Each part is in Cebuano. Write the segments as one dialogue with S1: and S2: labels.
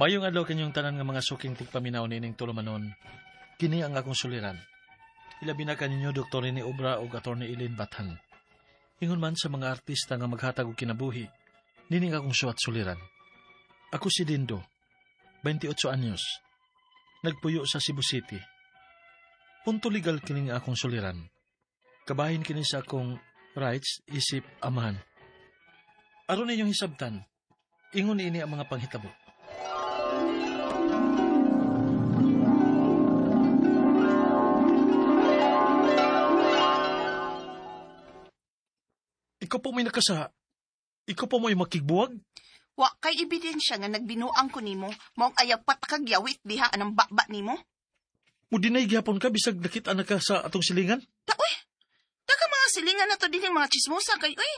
S1: Mayong adlaw kanyong tanan nga mga suking tigpaminaw nining tulumanon. Kini ang akong suliran. Ilabi na kaninyo Dr. Rene Obra ug Atty. Eileen Bathan. Ingon man sa mga artista nga maghatag og kinabuhi, nining akong suwat suliran. Ako si Dindo, 28 anyos. Nagpuyo sa Cebu City. Punto legal kining akong suliran. Kabahin kini sa akong rights isip amahan. Aron ninyong hisabtan, ingon ini ang mga panghitabo. Ikaw po may nakasa. Ikaw po may makigbuwag.
S2: Wa kay ebidensya nga nagbinuang ko nimo, maong ayaw patakagyawit diha anang baba nimo.
S1: Mudinay gihapon ka bisag nakit-an na ka sa atong silingan.
S2: Ta uy. Taka mga silingan na to dinhi mga chismosa kay uy.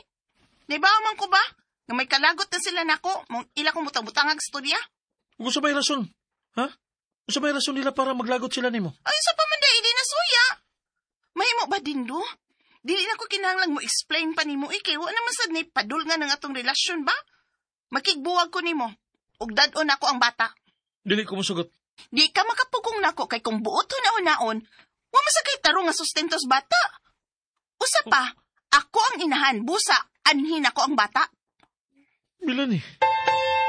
S2: Naibaw man ko ba nga may kalagot na sila nako, maong ila kong butang-butangag storya?
S1: Ug usa may rason, ha? Usa may rason nila para maglagot sila nimo.
S2: Ay sa pa man dai na suya. Mahimo ba dindo? Dili na ko kinahanglan mo explain pa nimo eh, kay wa naman sad ni padul nga ng atong relasyon ba? Makigbuwag ko nimo. Ug dad-on ako ang bata.
S1: Dili ko mosugot.
S2: Di ka makapugong nako kay kung buot hunahunaon, wa man sa kay tarong nga sustentos bata. Usa pa, ako ang inahan, busa, anhin ako ang bata.
S1: Melanie.